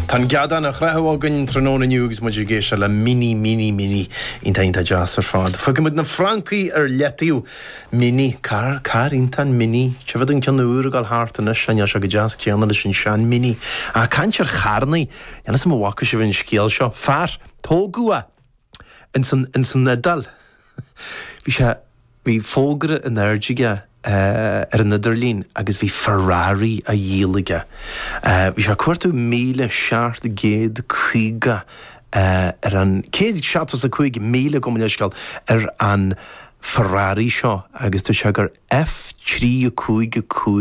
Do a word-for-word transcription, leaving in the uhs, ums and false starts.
Tá an geadán á chroitheadh againn tráthnóna inniu agus muid ag éisteacht le Mini Mini Mini iontach iontach deas ar fad. Fágfaidh muid na Francaigh ar leataobh. Mini, carr, carr iontach an Mini. Tchífead an ceann úr ag dul thart anois, níl sé chomh deas céanna leis an sean Mini. Ach caint ar charrannaí, níl 'fhios a'm an bhfaca sibh an scéal seo. Fear, tógadh é ins an, ins an Iodáil. Bhí sé, bhí fógra in airde aige ar an idirlíon agus bhí Ferrari á dhíol aige. Bhí sé ag cuartú míle seacht gcéad caoga ar an, céad seachtó is a cúig míle gabh mo leithscéal, ar an Ferrari seo agus dúirt sé gur F trí a cúig a cúig